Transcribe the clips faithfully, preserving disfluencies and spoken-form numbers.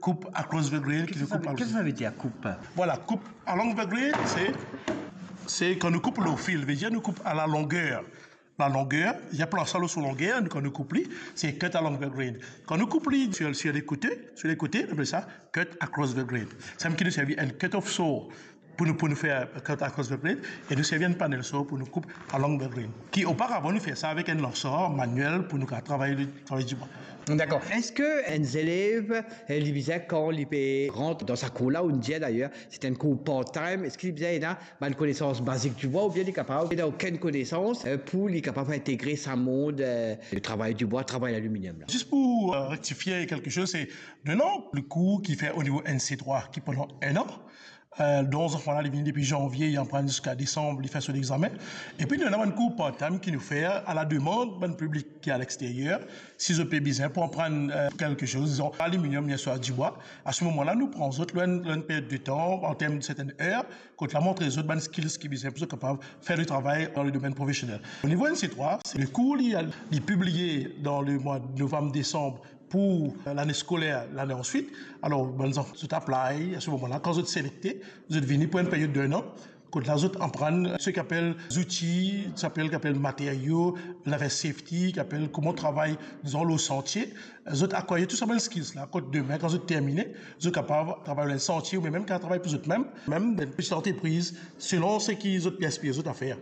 Koup across the grain, ki vedir koup... Kisa sa vedir koup? Vwala, koup along the grain, se, se kan nou koup lor fil, vedir nou koup a la longer. La longer, li plas la lor so longer, nou, kan nou koup li, se cut along the grain. Kan nou koup li sir, sir lekote, sir lekote, nou apel sa cut across the grain. Samem ki nou servi enn cut-off saw pou nou, pou nou fer cut across the grain, e nou servi enn panel saw pou nou koup along the grain. Ki oparavan nou fer sa avek enn lansar manuel pou nou kapav travay, travay dibwa. Dakor. Eski enn zelev, eh, li bizin, kan li pe rant dan sa kour la, ou dir dayer, se enn kour part-time, eski li bizin ena bann konesans bazik dibwa, oubien li kapav, ena okenn konesans, eh, pou li kapav integre sa mond, eh, de travay dibwa, travay laliminyom la? Zis pou, eh, rektifie kelke soz, se, non, non, le kour ki fer o nivo N C trois, ki pandan enn an, eh, donk zanfan la, li vini depi zanvie, li aprann ziska desanm, li fer so lexame. Epi nou ena bann kour part-time ki nou fer a la demann bann piblik ki a lexteryer, si zot pe bizin pou aprann, eh, kelke soz, dizon, aliminyom, oubien dibwa. A se moman la, nou pran zot lor enn, lor enn period de tan, an term de sertenn er, kot la montre zot bann skills ki bizin pou zot kapav fer le travay dan le domenn profesionel. O nivo N C trois, se le kour li, li pibliye dan le mwa de novam, desanm pou, eh, lane skoler, lane answit. Alor, bann zanfan, zot apply, a se moman la, kan zot selekte, zot vini pou enn period de enn an, kot la zot aprann seki apel zouti, seki apel, ki apel materio, laver safety, ki apel kouma travay, dizon, lor santie. Zot akwayir tou sa bann skills la, kot demin, kan zot termine, zot kapav travay lor santie, oubien mem kapav travay pou zot mem, mem dan enn peti antrepriz, selon seki zot pe inspire zot a fer.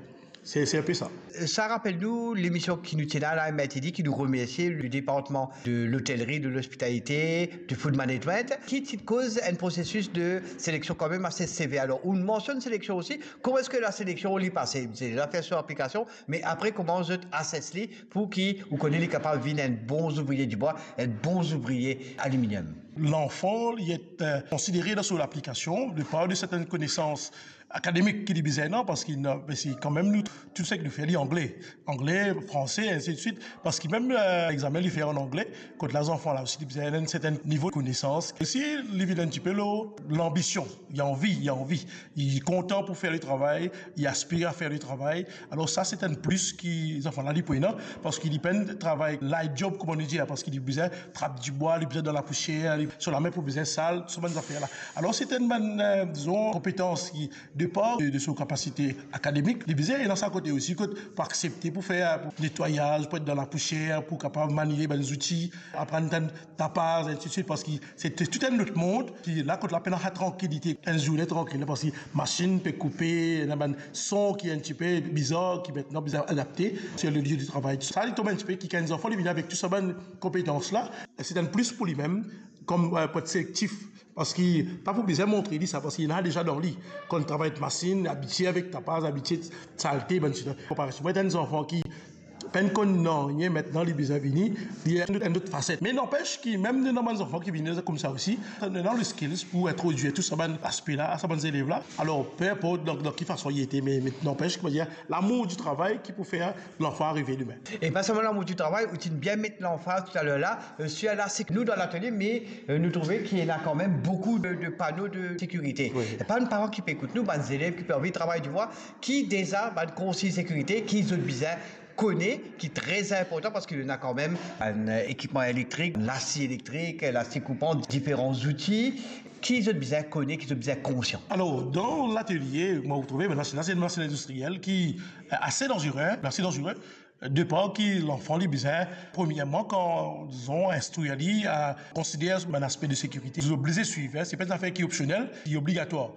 Se, se enn pe sa. Sa rapel nou lemision ki nou ti ena la, merkredi, ki nou remersie le departman de lotelri, de lospitalite, de food management, ki ti koz enn prosesis de seleksion kanmem ase sever. Alor, ou mansionn seleksion osi. Kouma eski la seleksion li pase? Zot deza fer so aplikasion, me apre, kouma zot assess li pou ki ou kone li kapav vinn enn bon zouvrie dibwa, enn bon zouvrie aliminyom? Lanfan, li et, eh, konsidere dan so aplikasion, de par de sertenn konesans akademik ki li bizin ena, parski, parski kanmem nou, tou seki nou fer li angle, angle, franse, ensi de swit, parski mem, eh, lexame li fer an angle, kot la zanfan la osi li bizin enn sertenn nivo konesans. Osi, li vinn enn tipe lor lanbision, li anvi, li anvi, li kontan pou fer le travay, li aspire a fer le travay. Alor sa, se enn plis ki zanfan la li pou ena, parski li pena travay light job, kouma nou dir, parski li bizin trap dibwa, li bizin dan lapousier, li, so lame pou bizin sal, so bann zafer la. Alor, se enn bann, eh, dizon, konpetans ki, de par de, de so kapasite akademik, li bizin ena sa kote osi, kot pou aksepte pou fer, pou netwayaz, pou et dan lapousier, pou kapav manie bann zouti, aprann tann tapaz, ensi de swit, parski se, se tou enn lot mond ki la, kot la pena sa trankilite, enn zourne trankil, parski masin pe koupe, ena bann son ki enn tipe bizar, ki aster bizin adapte, se le lie de travay. Sa, li tom enn tipe ki, kan enn zanfan li vini avek tou sa bann konpetans la, se enn plis pou limem, kom, eh, pou et selektif, parski pa pou bizin montre li sa, parski li ena deza dan li. Kan travay masin, abitie avek tapaz, abitie salte, bann sila. Konpare si mo enn zanfan ki pena konn nanye, aster li bizin vini, li ena enn lot faset. Me nanpes ki mem dan bann zanfan ki vini koumsa osi, nou ena le skills pou introdwir tou sa bann aspe la, sa bann zelev la. Alor, pe inport dan, dan ki fason li ete, me, me nanpes ki, mo dir, lamour di travay ki pou fer lanfan arive demin. E pa selman lamour di travay, ou ti bien met lanfaz toutalor la, eh, sir la, seki nou dan latelie, me, eh, nou trouve ki ena kanmem boukou de, de pano de sekirite. Wi. E pa bann paran ki pe ekout nou, bann zelev ki pe anvi travay dibwa, ki deza bann konsign sekirite ki zot bizin kone, ki tre inportan, parski nou ena kanmem bann, eh, ekipman elektrik, lasi elektrik, lasi koupan, diferan zouti, ki zot bizin kone, ki zot bizin konsian. Alor, dan latelie, mo trouve, bann masin la, se enn masin indistriel ki, eh, ase danzere, ase danzere. De par ki lanfan li bizin, premierman, kan, dizon, instrir li a konsider bann aspe de sekirite. Li oblize swiv, en, se pa enn zafer ki opsionel, li obligatwar.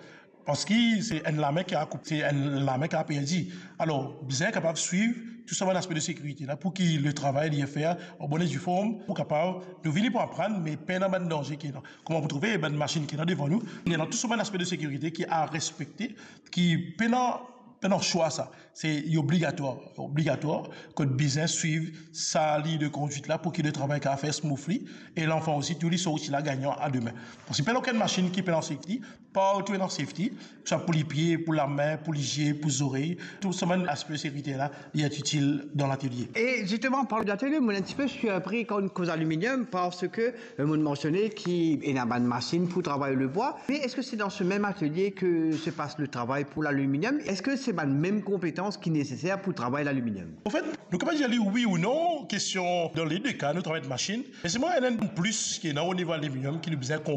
Parski se enn lame ki a koup, se enn lame ki a perdi. Alor, bizin kapav swiv tou sa bann aspe de sekirite la, pou ki le travay li fer an bonn e di form, pou kapav, nou vini pou aprann, me pena bann danze ki ena. Kouma pou trouve, bann masin ki ena devan nou, ena tou sa bann aspe de sekirite ki a respekte, ki pena, pena swa sa. Se obligatwar, obligatwar, kot bizin swiv sa liy de kondwit la pou ki le travay kapav fer smoothly, e lanfan osi, tou li sorti la gagnan a demin. Parski pena okenn masin ki pena safety, partou ena safety, swa pou lipie, pou lame, pou lizie, pou zorey, tou sa bann aspe sekirite la, li ete itil dan latelie. E zisteman, an parlan de latelie, mo enn tipe sirpri kan nou koz aliminyom, parski, eh, mo mansione ki ena bann masin pou travay lebwa. Me eski se dan se mem atelie ki se pas le travay pou laliminyom? Eski se bann mem konpetans ki neseser pou travay laliminyom? Anfet, nou kapav dir li wi ou non, kestion, dan lede ka, nou travay avek masin. Me selman ena enn plis ki ena o nivo aliminyom ki nou bizin